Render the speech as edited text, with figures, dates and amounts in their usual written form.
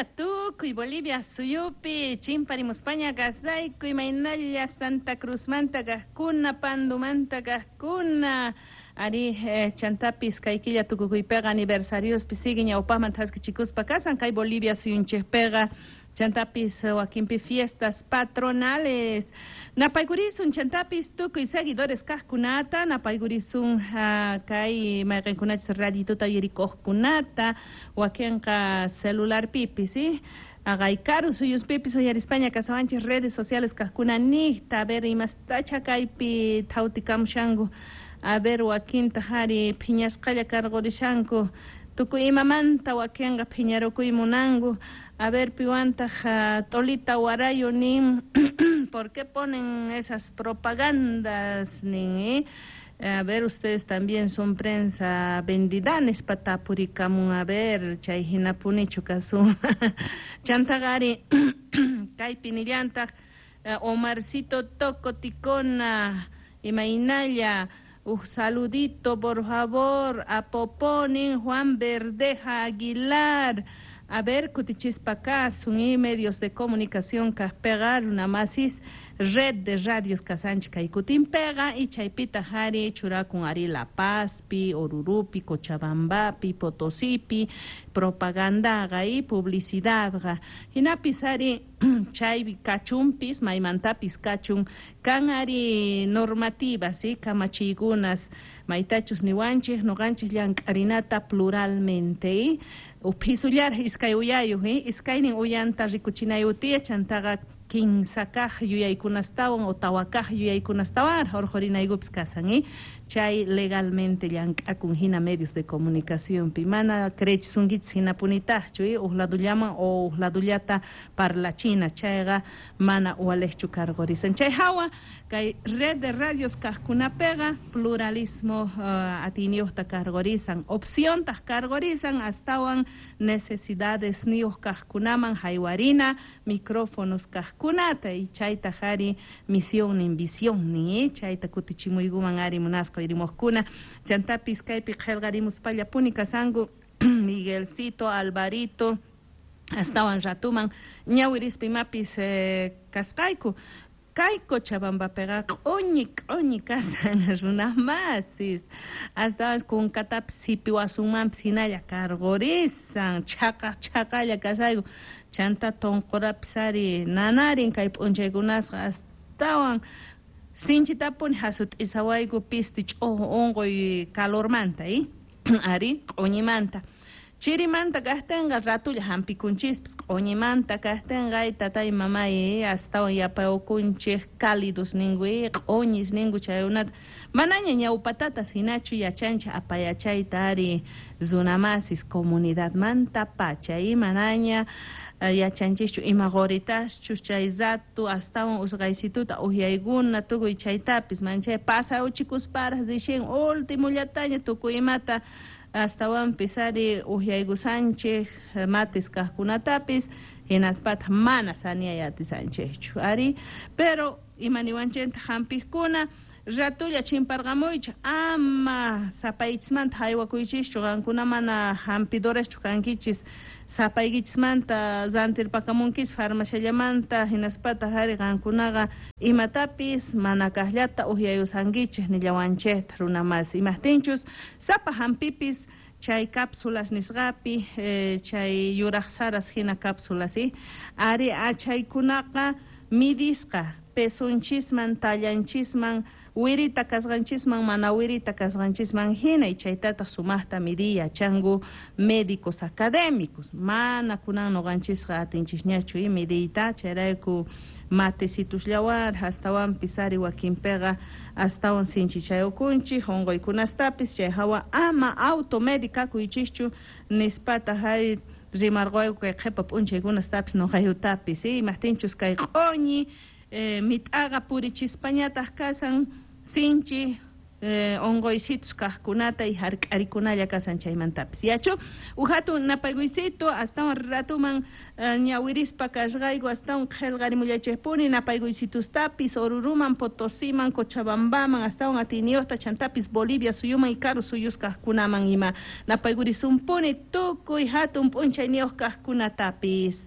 Tukuy Bolivia suyupi chimparimuspaña kasayku, imaynalla Santa Cruzmanta kajkuna, Pandumanta kajkuna, ari chantapis kay killa tukukuypeqa aniversariospi sigue ñawpajman thaskichikuspa kasan kay Bolivia suyunchejpeqa, chantapis wakinpi fiestas patronales. Napaykurisun chantapis tukuy seguidores kajkunata, napaykurisun kay mayqinkunachus radituta uyarikuqkunata, wakinqa celularpipis, ¿sí? Aqay karu suyuspipis uyarispaña kasawanchis redes sociales kajkuna niqta, a ver imastacha kaypi thawtikamushanku, a ver wakinta ari phiñasqalla karqurishanku, tukuy imamanta wakinqa phiñarukuy munanku. A ver piwantaq Tolita Warayo nin, ¿por qué ponen esas propagandas? Nin, ¿eh? A ver, ustedes también son prensa vendida, nispa tapurikamun, a ver, chay hinapunichu kasun. Chantaqari kaypi nillantaq Omarcito Toco Ticona, imaynalla, uj saludito por favor a Poponin Juan Verdeja Aguilar. A ver, kutichispa kasun y medios de comunicación kajpeqa runamasis red de radios kasanchik kay kutinpeqa y chaypitaq ari churakun ari La Pazpi, Orurupi, Cochabambapi, Potosipi, propagandaqa y publicidadqa. Hinapis ari chay kachumpis, maymantapis kachun, kan ari normativas, ¿sí? Kamachiykunas, maytachus niwanchik, noqanchis llank'arinata pluralmente, ¿sí? Uphisullar iskay uyayuq, ¿sí? Iskaynin uyanta rikuchinayutiya chantaqa kinsa kaq yuyaykunastawan o tawa kaq yuyaykunastawan urqurinaykupis kasan, ¿eh? Chay legalmente llank'akun hina medios de comunicacionpi, mana creechisunkichis hinapunitaqchu, ¿eh? Uj ladullaman o uj ladullata parlachina, chayqa mana uwalejchu karqurisan. Chay hawa kay red de radios kaqkunapiqa pluralismo atiyniyuqta karqurisan, opciontaq karqurisan, astawan necesidades niyuq kaqkunaman haywarina micrófonos kaqkunata, y chaytaq ari misionnin, visionnin, ¿eh? Chayta kutichimuykuman ari munasqa uyarimuqkuna. Chantapis kaypi qillqarimuspallapuni kasanku Miguelcito, Alvarito, astawan ratuman ñawirispa imapis kasqayku. Kay Cochabambapiqa q'uñi q'uñi kasan runamasis, astawan kunkatapis sipiwasunmanpis hinalla karqurisan, chhaqa chhaqalla kasayku, chanta tonqorapis ari nanarin kay p'unchaykunasqa astawan sinchitapuni hasut'isawayku pisti ch'uju unquy calormanta, ¿eh? Ari q'uñimanta. Chirimanta kajtinqa ratulla hampikunchispas, q'uñimanta kajtinqa tatay mamay astawan yapayukunchik cálidos ninku, q'uñis ninku chaykunata. Manaña ñawpatatas hinachu yachanchik apayachayta ari runamasis comunidadmanta pacha, manaña yachanchischu ima quritaschus chay rato astawan usqaysituta uhyaykuna tukuy chaytapis manchay pasawchikusparaq rixin ultimullataña tukuy imata astawanpis ari uhyaykusanchik matis kaqkunatapis hinaspataq mana saniyay atisanchikchu ari, pero imaniwanchikta hampiqkuna ratulla chimparqamuychik, ama sapaychismanta haywakuychischu, qankuna mana hampidoraschu kankichis, sapaykichismanta rantirpakamunkis farmaciallamanta hinaspataq ari qankunaqa imatapis mana kaqllata uhyayusankichik nillawanchikta runamasi, imaqtinchus sapa hampipis chay cápsulas nisqapi, chay yuraq saras hina cápsulas, ¿sí? Ari achaykunaqa midisqa pesonchisman, tallanchisman, wirita kasqanchisman, mana wirita kasqanchisman hina, y chaytataq sumaqta midiy yachanku médicos académicos, mana kunan nuqanchisqa atinchisñachu midiyta, chayrayku matecitusllawan astawanpis ari wakinpiqa astawan sinchichayukunchik unquykunastapis, chay hawa ama automedicakuychischu nispataq ari rimarquyku kay qhipa p'unchaykunastapis nuqayutapis, ¿sí? Imaqtinchus kay q'uñi mit'aqa purichispañataq kasan sinchi Onqoysitus kajkunata y jark'arikunalla kasan chaymantapis. Yachu, uj hatun napaykuysitu astawan ratuman ñawirispa kasqayku, astawan qhelqarimullachejpuni napaykuysitustapis Oruruman, Potosiman, Cochabambaman, astawan atiyniyuqta, chantapis Bolivia suyuman y karu suyus kajkunaman ima napaykurisunpuni tukuy hatun p'unchayniyuq kajkunatapis.